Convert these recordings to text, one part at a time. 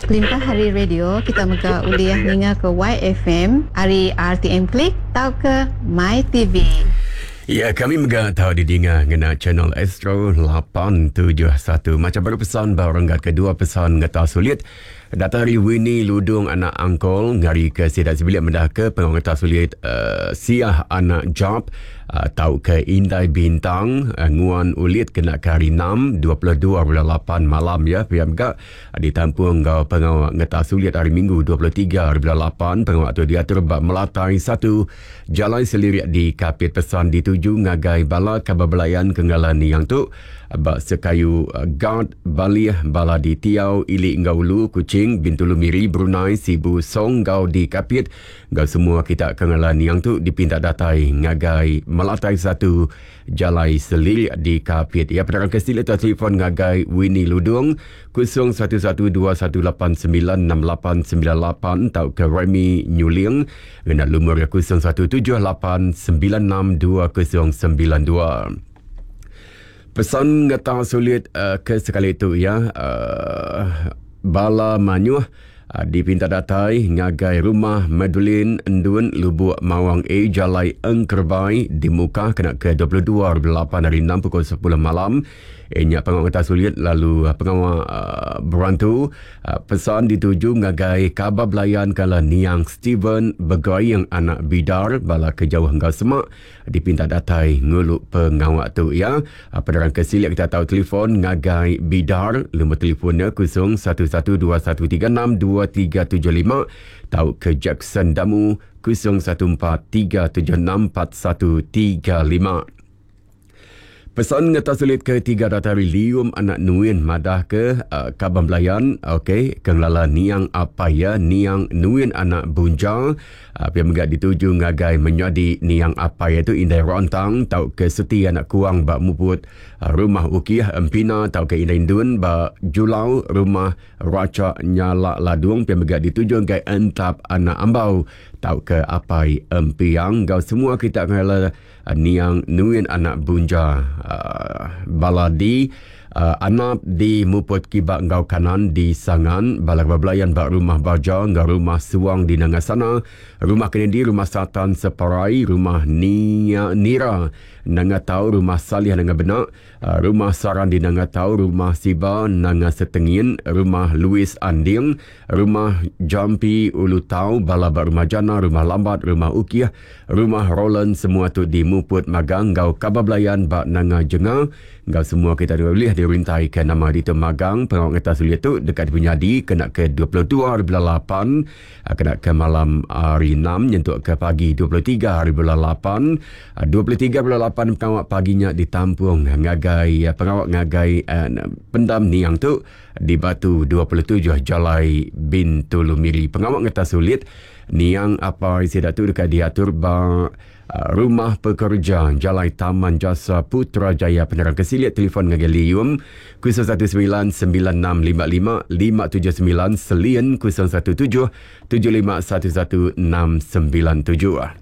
Kelimpah ari radio, kita mega ulih ninga ke YFM ari RTM Click tauka MyTV. Ya, kami mega tau didinga ngena channel Astro 871. Macam baru pesan ba renggat kedua pesan ngeta sulit. Datai ari Winnie Ludung anak Angkol ngari ke sida sebilik meda ke pengawa ngeta sulit uh, Siah anak Job uh, tauka Indai Bintang uh, nguan ulit kena ke hari 6 22 bulan 8 malam ya pia mega uh, ditampung enggau pengawa ngeta sulit hari Minggu 23 hari bulan 8 pengawa tu diatur ba Melatai 1 Jalai Selirik di Kapit pesan dituju ngagai bala kaban belayan ke ngala niang tu ba sekayu Gard, Balih, bala di Tiau, Ili enggau Ulu, Kuching, Bintulu Miri, Brunei, Sibu, Song enggau di Kapit enggau semua kita ke ngala niang tu dipinta datai ngagai Melatai satu Jalai Selilik di Kapit. Iya penerang ke silik tu telefon ngagai Winnie Ludung 0112189689 tauka Remy Nyuling ngena lumur 0178962092. Pesan ngeta sulit uh, ke sekali tu ya uh, bala manyuh uh, dipinta datai ngagai rumah Madeline Endun Lubuk Mawang A Jalai Engkerbai di Mukah kena ke 22 8 hari 6 pukul 10 malam. Eh, nya pengawa ngeta sulit lalu pengawa uh, berantu Pesan dituju ngagai Kaba Belayan kala niang Steven Begaing anak Bidar bala ke jauh enggau semak dipinta datai ngulu pengawa tu iya. Penerang ke silik kita tau telefon ngagai Bidar lumur telefon nya 0112136235 tauka Jackson Damu 0143764135. Pesan ngeta sulit ke tiga datai ari Lium anak Nuin madah ke uh, kaban belayan okey ke ngelala niang apai iya niang Nuin anak Bunja uh, pia mega dituju ngagai menyadi niang apai iya tu Indai Rantang tauka Seti anak Kuang ba Muput uh, Rumah Ukih Empina tauka Indai Indun ba Julau Rumah Racha Nyala Ladung pia mega dituju ngagai Entap anak Ambau tauka apai Empiang enggau semua kita ngelala Niang Nuin anak Bunja bala di Anap di Muput Kiba enggau Kanan di Sangan, bala ke bebelayan ba Rumah Baja enggau Rumah Suang di Nanga Sana, Rumah Kennedy, Rumah Satan Separai, Rumah Nia Nira Nanga Tau, Rumah Salih Nanga Benak, Rumah Saran di Nanga Tau, Rumah Siba Nanga Setengin, Rumah Louis Anding, Rumah Jampi Ulu Tau, bala ba Rumah Jana, Rumah Lambat, Rumah Ukih, Rumah Roland semua tu di Muput Magang enggau Kaba Belayan ba Nanga Jenga enggau semua kita tu ulih dirintaika nama ditu Magang pengawa ngetas ulit tu deka dipenyadi kena ke 22 hari bulan lapan kena ke malam hari enam nyentuk ke pagi 23 hari bulan lapan. 23 bulan lapan pengawa pagi nya ditampung ngagai pengawa ngagai pendam niang tu di Batu 27 Jalai Bintulu Miri. Pengawa ngetas ulit Niang apai sida tu deka diatur ba Rumah Pekerja Jalai Taman Jasa Putrajaya. Penerang ke silik telefon ngagai Lium 0199655579 Selin 017 7511697.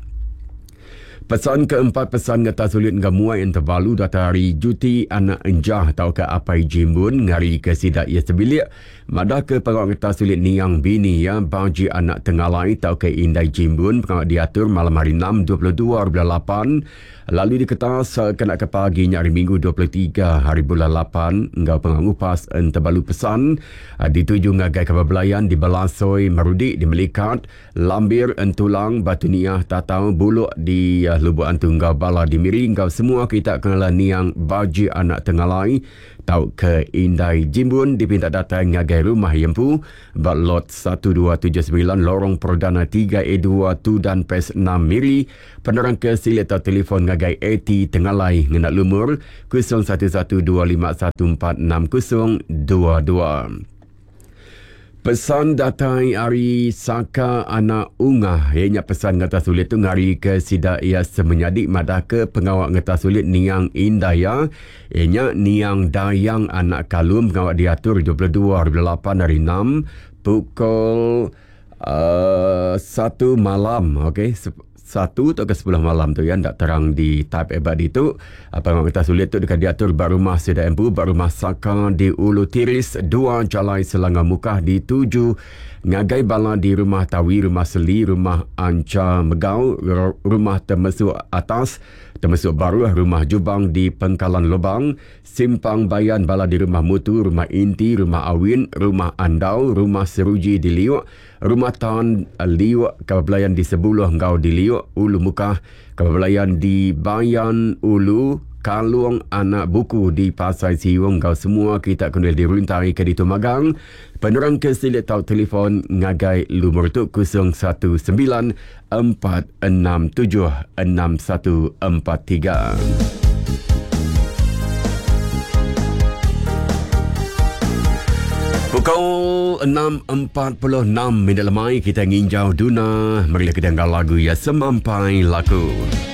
Pesan keempat pesan ngetas ulit enggau muai entebalu datai ari Juti anak Enjah tauka Apai Jimbun ngari ke sida iya sebilik Madah ke pengawa ngetas ulit niang bini iya Baji Anak Tengalai tauka Indai Jimbun pengawa diatur malam hari enam 22 hari bulan lapan lalu diketas kena ke pagi nya hari Minggu 23 hari bulan lapan enggau pengawa ngupas entebalu pesan dituju ngagai kaban belayan di Belasoi Marudi di Melikat Lambir Entulang Batu Niah Tatau Buluk di Lubok Antu enggau bala di Miri enggau semua kita ke ngelala niang Baji Anak Tengalai tauka Indai Jimbun dipinta datai ngagai rumah iya empu ba Lot 1279 Lorong Perdana 3A2 Tudan Pes 6 Miri. Penerang ke silik tau telefon ngagai AT Tengalai ngena lumur 0112514602. Pesan datai ari Saka anak Ungah iya nya pesan ngetas ulit tu ngarika sida iya semenyadi madahka pengawa ngetas ulit niang indai iya iya nya niang Dayang anak Kalum pengawa diatur 22 hari bulan lapan hari enam pukul uhh satu malam okey. satu tauka sepuluh malam tu ya enda terang di type ba ditu. Pengawa ngetas ulit tu deka diatur ba rumah sida empu ba rumah Saka di Ulu Tiris dua Jalai Selangau Mukah dituju ngagai bala di Rumah Tawi, Rumah Seli, Rumah Ancha Megau, Rumah Temesuk Atas, Temesuk Baruh, Rumah Jubang di Pengkalan Lobang, Simpang Bayan bala di Rumah Mutu, Rumah Inti, Rumah Awin, Rumah Andau, Rumah Seruji di Liuk, Rumah Tan Liuk, Kaban Belayan di Sebuluh enggau di Liuk, Ulu Mukah, Kaban Belayan di Bayan Ulu, Kalong Anak Buku di Pasai Siung enggau semua kita ke ulih diruntai ke ditu magang. Penerang ke silik tau telefon ngagai lumur tu 019 467 6143. Pukul 6.46 minit lemai kita nginjau duna. Marilah kita enggau lagu ya Semampai Laku.